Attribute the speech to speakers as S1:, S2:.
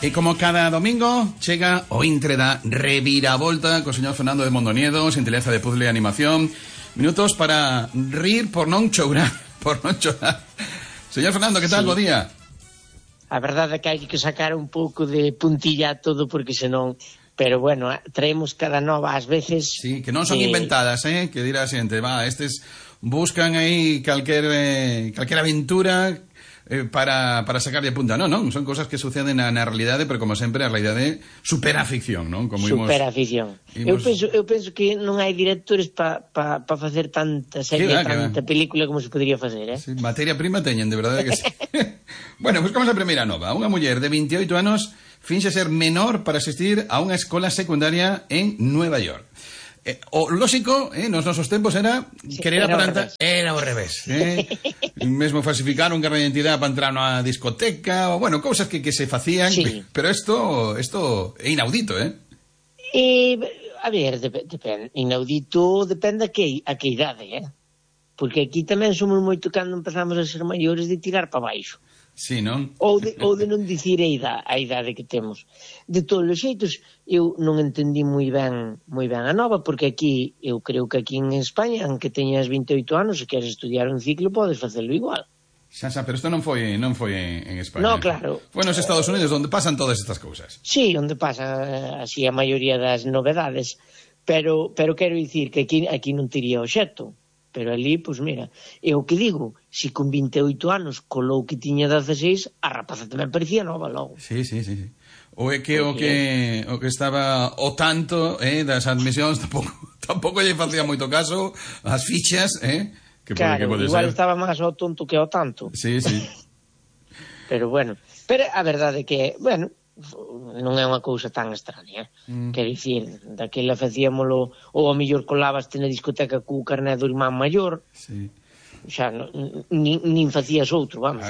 S1: E como cada domingo chega o intre da reviravolta co señor Fernando de Mondoniedo, Sinteleza de Puzzle e Animación. Minutos para rir por non chourar, Señor Fernando, que tal?
S2: Sí.
S1: Bo día.
S2: A verdade é que hai que sacar un pouco de puntilla a todo porque senón... Pero bueno, traemos cada nova ás veces...
S1: Sí, que non son inventadas, que dirá a xente, estes buscan aí calquera aventura para sacar de punta. Non, son cosas que suceden na realidade, pero como sempre a realidade supera a ficción, non?
S2: Supera a ficción. Eu penso que non hai directores para facer tanta serie, tanta película como se podría facer,
S1: Sí, materia prima teñen, de verdade que sí. Bueno, buscamos a primeira nova. Unha muller de 28 anos finxe ser menor para asistir a unha escola secundaria en Nueva York. O lógico, nos nosos tempos era querer aparentar... Era ao revés. Mesmo falsificar un carné de identidade para entrar na discoteca, ou, bueno, cousas que se facían, sí. Pero isto é inaudito,
S2: A ver, depende. Inaudito depende a que idade, Porque aquí tamén somos moito cando empezamos a ser maiores de tirar para baixo.
S1: Sí, non?
S2: Ou de non dicir a idade que temos. De todos os xeitos, eu non entendí moi ben a nova, porque aquí, eu creo que aquí en España, aunque teñas 28 anos, se queres estudiar un ciclo, podes facelo igual.
S1: Xa, pero isto non foi en España.
S2: No, claro.
S1: Foi nos Estados Unidos, onde pasan todas estas cousas.
S2: Sí, onde pasan así a maioría das novedades, pero quero dicir que aquí non tería obxecto. Pero ali, pois mira, é o que digo, se con 28 anos colou que tiña 16, a rapaza tamén parecía nova logo.
S1: Sí. O é que o que estaba o tanto das admisións tampouco lle facía moito caso as fichas, que
S2: claro,
S1: pode
S2: igual
S1: ser.
S2: Estaba máis ao tonto que ao tanto.
S1: Sí.
S2: Pero bueno, a verdade é que, bueno, non é unha cousa tan extraña, quero dicir, daquela facíamolo, ou a mellor colabaste na discoteca co carné do irmán maior,
S1: sí.
S2: Xa nin facías outro, vamos,